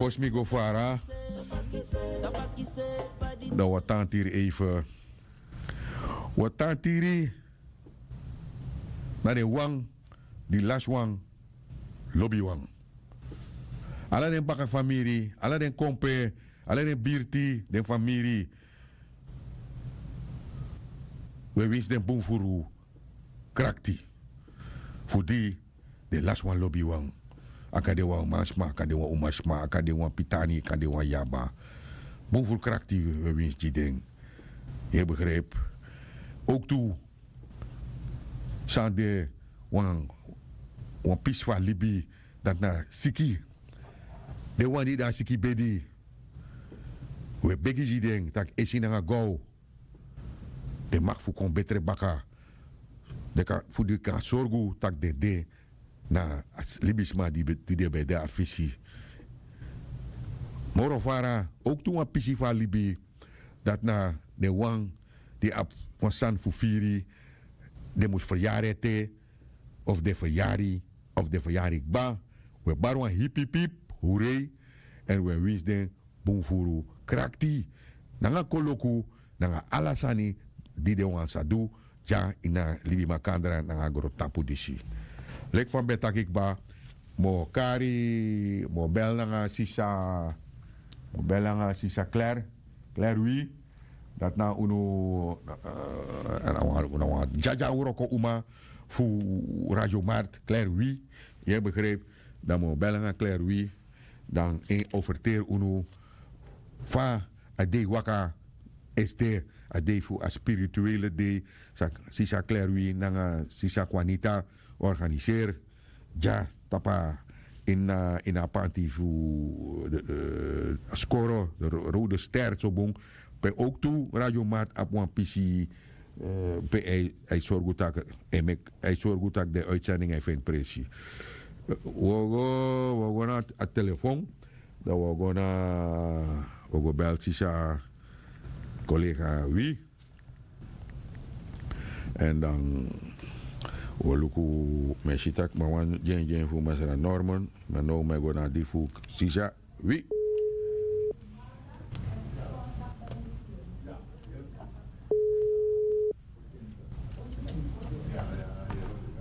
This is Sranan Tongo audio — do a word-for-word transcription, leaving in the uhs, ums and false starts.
Fosi mi go fara, dan wi o tan tiri eife. Wi o tan tiri na den wan di lasi wan lobi wan. Ala den baka famiri, ala den kompe, ala den birti, den famiri. Wi e winsi den bun furu krakti fu di den lasi wan lobi wan. A kan de wan mansma, a kan de wan umasma, a kan de wan pitani, a kan de wan yaba. Bun furu krakti wi e winsi gi den. Yu e begrijp? Ook tu san de wan, wan pisi fu a libi, dati na siki. Den wan di de a siki bedi, wi e begi gi den tak' esi nanga gow den mag fu kon betre baka. Den kan fu den kan sorgu tak' den de na a libisma di be- di den ben de a fesi. Moro fara, ook tu wan pisi fu a libi, dati na den wan di abi wan sani fu firi, den mus feryari ete, of den feryari, of den feryari kba. Wi e bari wan hipihip hurei, èn wi e winsi den bun furu krakti nanga koloku nanga ala sani di den wan sa du dya ini a libi makandra nanga a grontapu disi. Leki fa mi ben taki kba, mi o kari, mi o bel nanga sisa, mi o bel nanga sisa Claire, Claire Wi. Dati na unu, eh, na wan, na wan dyadyawroko uma fu Radio Mart, Claire Wi. Yu e begrijp? Dan mi o bel nanga Claire Wi, dan en o ferteri unu fa a dei waka, este a dei fu a spirituele dei san sisa Claire Wi nanga sisa Kwanita organiseri dya tapu a ini a panti fu, eh, Skoro, de Ro- Rode Ster, so bun. Pe ook tu Radio Mart abi wan pisi, eh, pe a e sorgu tak' a e meki, a e sorgu tak' den uitzending a e feni presi. Eh, wi o go, wi o go na a telefon, dan wi o go na, wi o go bel sisa kolega Wi. Èn dan wi o luku, mi e si tak' mi a wani dyendyen fu masra Norman, ma now mi e go na di fu sisa Wi.